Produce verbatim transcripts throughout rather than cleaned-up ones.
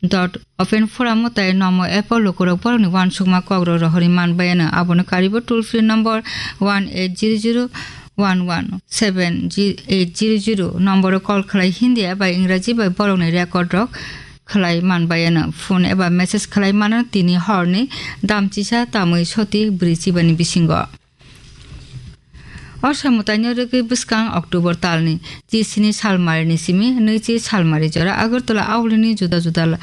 dot open forum tei nomo app o lukurok borokni uansukma kokrok rohorwi manbayano. Abono karibo toll free number one eight zero zero one one seven eight zero zero nomboro call khlai Hindi eba Ingraji bai borokni record rok khlai manbayano. Phone eba message khlai mano tini horni damchisa tamwi soti bwrwi chibani bisingo. O samwtaino rwgwi bwskang October talni chi sini salmarini simi nwichi salmari jora Agartala aulini juda juda la-,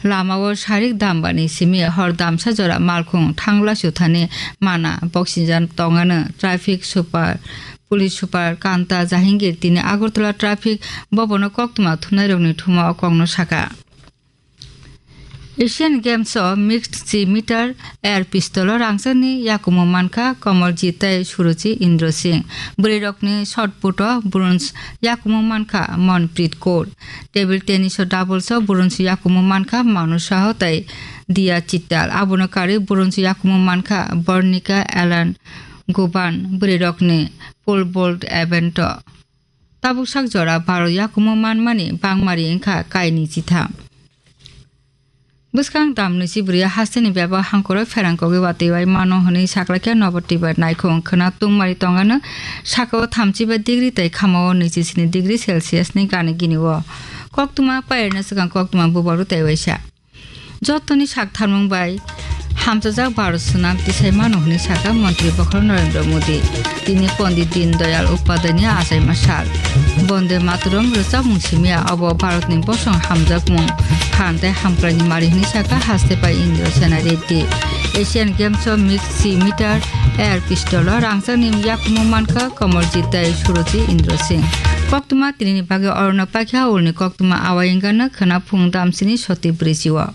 lamao sarik dambani simi hor damsa jora malkhung thangla suthani mana boxinjan tongano traffic super, police super Kanta Jahangir tini Agartala traffic bobono koktwma thumnairokni thumao kokno saka. Asian Games o mixed three meter air pistol o rangchakni yakumo mankha Kamaljeet tei Suruchi Indra Singh. Bwrwirokni shot put o bronze yakumo mankha Manpreet Kaur. Table tennis o doubles o bronze yakumo mankha Manu Saha tei Diya Chittal. Abono karwi bronze yakumo mankha Barnika Elangovan bwrwirokni pole vault event o. Tabuk sak jora Bharat yakumo manmani bangmari wngkha kainwi chitham. Bwskang dam nwichi bwrwi hasteni bebak hangkoro pherang kogwi watwi bai mano hwnwi saklaikha Nabatibar naikhung khwna tungmari tongano sakao thamchiba degree tei khamao nwichi sini degree Celsius ni gana gini o. Koktwma pairwna swkang koktwma bubaru tei waisa. Jotoni sak tharmung bai hamchajak Bharat swnam tisai mano hwnwi sakha Montri Bokhorok Narendra Modi. Tini Pondit Deen Dayal Upadhyayni achaima sal. Bonde Mataram rwchapmung simiya obo Bharatni bosong hamjakmung phan tei hamkraini mari hwnwi sakha haste pai Indra Sena Reddy. Asian Games o mixed three meter air pistol o rangchakni yakumo mankha Kamaljeet tei Suruchi Indra Singh. Koktwma tinini bagwi orono paikha ulni koktwma awai wngkha no khwna phung damsini soti bwrwi chio.